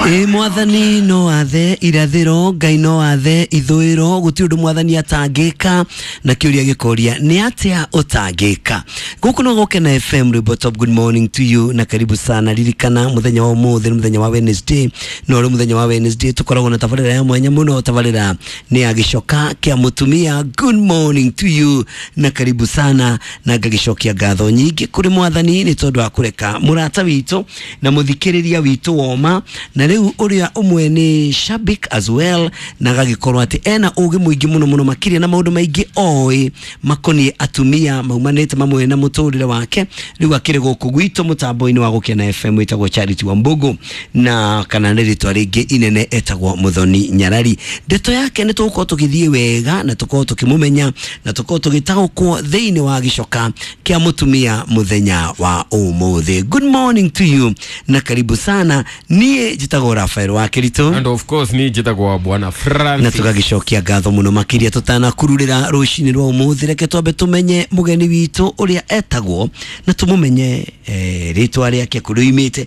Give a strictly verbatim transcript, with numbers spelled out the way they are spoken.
Ĩ Mwathani no athe irathĩro, Ngai no athe ithũĩro, gũtirĩ ũndũ Mwathani atangĩka. Na kĩũria gĩkoria, nĩ atĩa ũtangĩka? Gũkũ no Gũkena F M, rwĩmbo top. Good morning to you na karibu sana. Ririkana mũthenya wa ũmũthĩ nĩ mũthenya wa Wednesday, no rĩ mũthenya wa Wednesday tũkoragwo na tabarĩra ya mwanya mũno. Tabarĩra nĩ ya gĩcoka kĩa mũtumia. Good morning to you na karibu sana, na ngagĩcokia ngatho nyingĩ kũrĩ Mwathani nĩ tondũ wa kũreka mũrata witũ na mũthikĩrĩria witũ woma, na rĩu ũrĩa ũmwe nĩ shabik as well, na agagĩkorwo atĩ ena ũgĩ mũingĩ mũno mũno makĩria na maũndũ maingĩ oĩ makoniĩ atumia maumanĩte mamwe na mũtũrĩre wake. Rĩu akĩrĩ gũkũ gwitũ mũtambo-inĩ wa Gũkena F M, wĩtagwo Charity Wambugu, na kana nĩ rĩtwa rĩngĩ inene etagwo Muthoni Nyarari. Ndeto yake nĩ tũgũkorwo tũgĩthiĩ wega na tũkorwo tũkĩmũmenya na tũkorwo tũgĩtaũkwo thĩinĩ wa gĩcoka kĩa mũtumia mũthenya wa ũmũthĩ. Good morning to you na karibu sana. Niĩ njĩtagwo Rafael wa Kĩritũ. And of course ni njĩtagwo Bwana Na Francis. Tũgagĩcokia ngatho mũno makĩria. Tũtanakururĩra rũcinĩ rwa ũmũthĩ, reke twambe tũmenye mũgeni witũ ũrĩa etagwo na tũmũmenye eh, rĩtwa rĩake, kũrĩa oimĩte.